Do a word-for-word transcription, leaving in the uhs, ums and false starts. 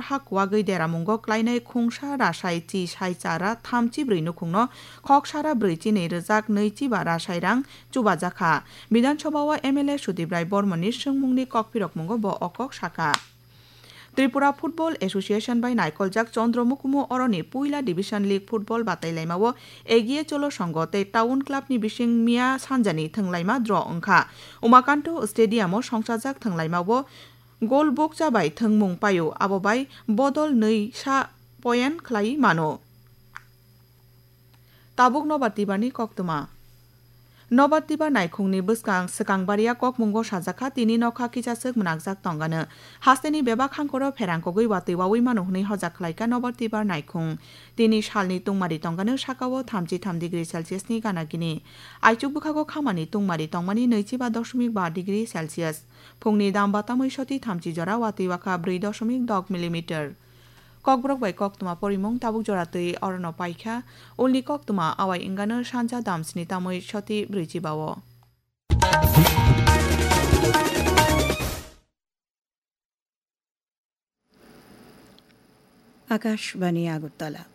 ha kuagwi deramungo klainai khungsa rasai chi sai chara thamchi brwi nukhungno khok sara brwi chinwi rwjak nwichi ba rasai rang chubajakha. Bidhan Sabha o M L A Sudip Rai Bormoni swngmungni kokphirokmungo bo o kok sakha. Tripura Football Association bai naikoljak Chandra Mukumu oroni puila Division League football batailaimao Egiye Cholo Songho tei Town Club ni bising miya sanjani thwnglaima draw wngkha. Umakanto Stadium o songchajak thwnglaimao goal bokcha bai thwngmung paio, abo bai bodol nwi sa point khlai mano. Tabuk Nobar Tibarni koktwma. Nobar Tibar naikhungni bwskang swkang baria kokmungo sajakha, tini nokha kichaswk mwnakjak tongano. Hasteni bebak hangkoro pherang kogwi watwi wawi mano hwnwi hojak khlaikha Nobar Tibar naikhung. Tini salni tungmari tongano sakao thamchi tham degree Celsius ni gana gini. Aichuk bwkhago khamani tungmari tongmani nwichi ba dosmik ba degree Celsius. Phungni dam batamwi soti thamchi jora watwi wakha brwi dosmik dok millimeter. Kokborok bai koktwma porimung tabuk jora twi orono paikha. Ulni koktwma awai wngano sanja dam sni tamwi soti brwichi bao. Akashbani Agartala.